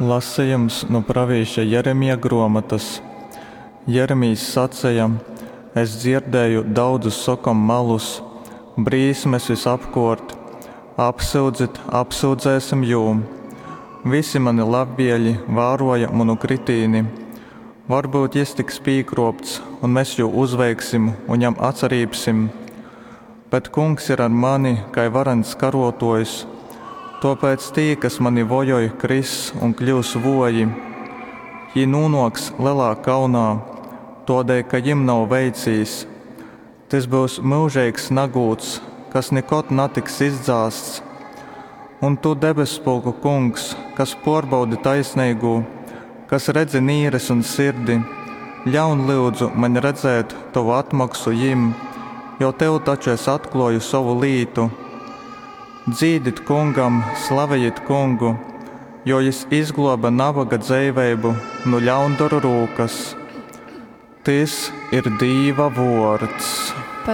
Lasejums nu pravīša Jeremija gruomotys. Jeremijs saceja, Es dzierdēju daudzus sokom malus, Brīsmes visapkuort! Apsyudzit, apsyudzēsim jū! Visi mani labvieļi vāroja munu kritīni, Varbyut jis tiks pīkruopts, un mes jū uzveiksim un jam atsarībsim. Bet Kungs ir ar mani kai varens karuotuojs, tuopēc tī, kas mani vojoj, kriss un kļyus vuoji. Jī nūnuoks lelā kaunā, tuodēļ ka jim nav veicīs. Tys byus myužeigs nagūds, kas nikod natiks izdzāsts. Un tu, debesspulku Kungs, kas pōrbaudi taisneigū, kas redzi nīres un sirdi, ļaun, lyudzu, maņ redzēt tovu atmoksu jim, jo tev taču es atklōju sovu lītu. Dzīdit Kungam, slavejit Kungu, jo jys izglōbe naboga dzeiveibu nu ļaundoru rūkas. Tys ir Dīva vōrds.